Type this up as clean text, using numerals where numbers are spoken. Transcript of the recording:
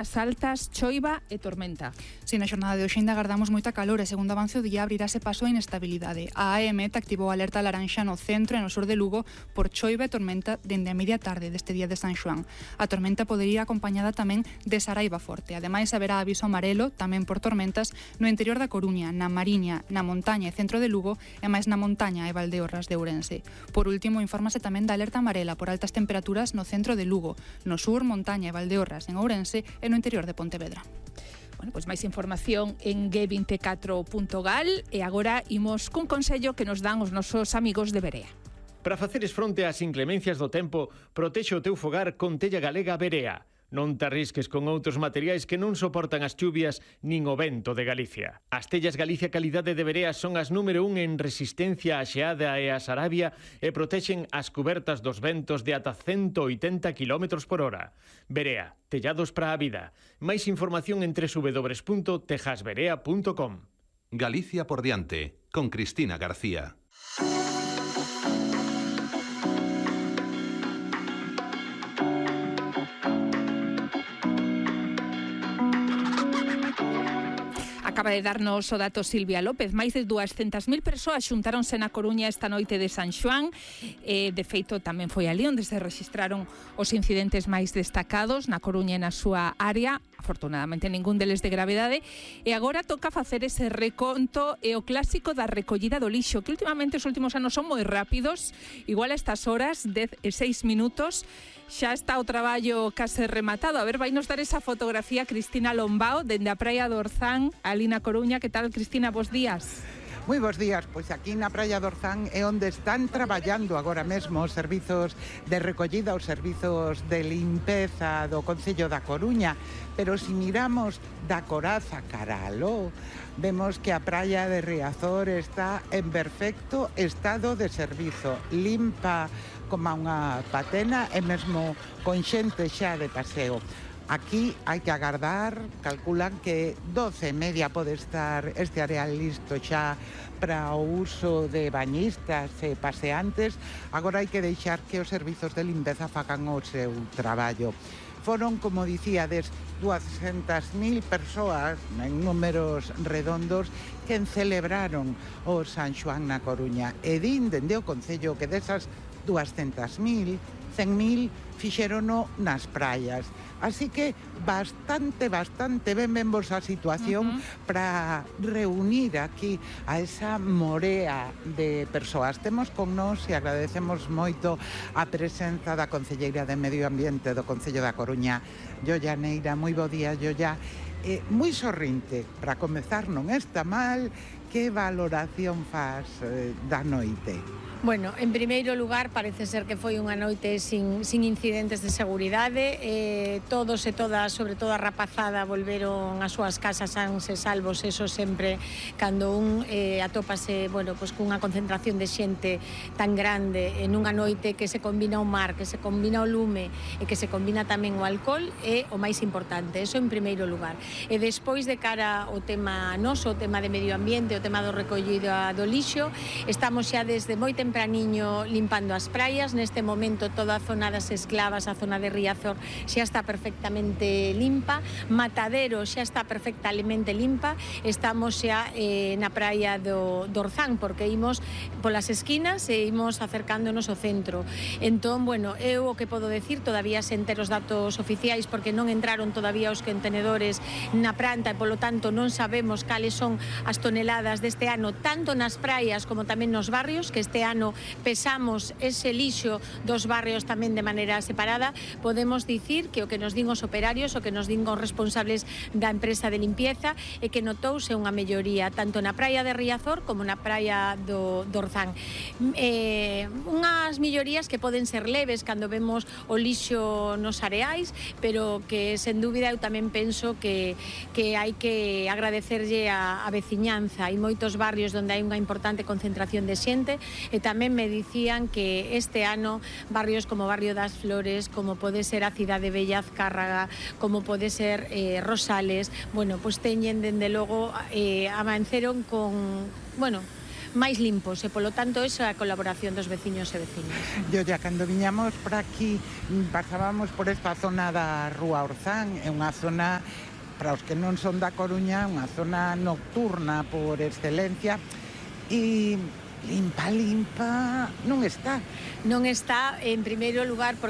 As altas, choiva e tormenta. Si na xornada de hoxe ainda agardamos moita calor e segundo avance o día abrirase paso a inestabilidade. A AEMET activou a alerta laranxa no centro e no sur de Lugo por choiva e tormenta dende a media tarde deste día de San Xoán. A tormenta podería ir acompañada tamén de saraiva forte. Ademais, haberá aviso amarelo, tamén por tormentas, no interior da Coruña, na Mariña, na montaña e centro de Lugo e máis na montaña e Valdeorras de Ourense. Por último, infórmase tamén da alerta amarela por altas temperaturas no centro de Lugo, no sur, montaña e Valdeorras en Ourense e no interior de Pontevedra. Bueno, pois máis información en g24.gal e agora imos cun consello que nos dan os nosos amigos de Berea. Para faceres fronte ás inclemencias do tempo, protexe o teu fogar con tella galega Berea. Non te arrisques con outros materiais que non soportan as chuvias nin o vento de Galicia. As tellas Galicia Calidade de Berea son as número 1 en resistencia á xeada e á sarabia e protexen as cubertas dos ventos de ata 180 km por hora. Berea, tellados para a vida. Máis información en www.tejasberea.com. Galicia por diante, con Cristina García. Acaba de darnos o dato Silvia López. Máis de 200.000 persoas xuntáronse na Coruña esta noite de San Xoán. De feito, tamén foi ali onde se rexistraron os incidentes máis destacados na Coruña e na súa área. Afortunadamente, ningún deles de gravedade. E agora toca facer ese reconto e o clásico da recollida do lixo, que últimamente os últimos anos son moi rápidos. Igual a estas horas, 10 e 6 minutos, xa está o traballo case rematado. A ver, vai nos dar esa fotografía Cristina Lombao, dende a Praia do Orzán, ali na Coruña. Que tal, Cristina? Bos días. Moi bos días, pois aquí na Praia do Orzán é onde están traballando agora mesmo os servizos de recollida, os servizos de limpeza do Concello da Coruña, pero se miramos da Coraza cara a Ló, vemos que a praia de Riazor está en perfecto estado de servizo, limpa como unha patena e mesmo con xente xa de paseo. Aquí hai que agardar, calculan que 12:30 pode estar este areal listo xa para o uso de bañistas e paseantes. Agora hai que deixar que os servizos de limpeza fagan o seu traballo. Foron, como dicíades, 200.000 persoas en números redondos que celebraron o San Xoán na Coruña. E din dende o Concello que desas 200.000, 100.000 fixérono nas praias. Así que bastante ben vos a situación para reunir aquí a esa morea de persoas. Temos con nós e agradecemos moito a presenza da Concelleira de Medio Ambiente do Concello da Coruña, Yolla Neira. Moi bo día, Yolla. Moi sorrinte, para comezar non está mal. Que valoración faz da noite? Bueno, en primeiro lugar, parece ser que foi unha noite sin incidentes de seguridade. Todos e todas, sobre todo a rapazada, volveron ás súas casas sans e salvos. Eso sempre, cando un atópase, bueno, pues cunha concentración de xente tan grande en unha noite que se combina o mar, que se combina o lume e que se combina tamén o alcohol, é o máis importante. Eso en primeiro lugar. E despois, de cara ao tema noso, o tema de medio ambiente, o tema do recollido do lixo, estamos xa desde moi tempraniño limpando as praias. Neste momento toda a zona das Esclavas, a zona de Riazor, xa está perfectamente limpa. Matadero xa está perfectamente limpa. Estamos xa na praia do Orzán, porque imos polas esquinas e imos acercándonos ao centro. Entón, bueno, eu o que podo decir, todavía sen ter os datos oficiais, porque non entraron todavía os contenedores na planta e polo tanto non sabemos cales son as toneladas deste ano, tanto nas praias como tamén nos barrios, que este ano pesamos ese lixo dos barrios tamén de maneira separada. Podemos dicir que o que nos din os operarios, o que nos din os responsables da empresa de limpieza, é que notouse unha melloría tanto na praia de Riazor como na praia do Orzán. Unhas mellorías que poden ser leves cando vemos o lixo nos areais, pero que sen dúbida eu tamén penso que hai que agradecerlle a veciñanza. Hai moitos barrios onde hai unha importante concentración de xente e tamén me dicían que este ano barrios como Barrio das Flores, como pode ser a Cidade Bella, Azcárraga, como pode ser Rosales, bueno, pois teñen dende logo amanceron con, bueno, máis limpos, e polo tanto esa é a colaboración dos veciños e veciñas. Yo ya cando viñamos por aquí pasábamos por esta zona da Rúa Orzán, é unha zona, para os que non son da Coruña, unha zona nocturna por excelencia, e limpa non está. Non está, en primeiro lugar,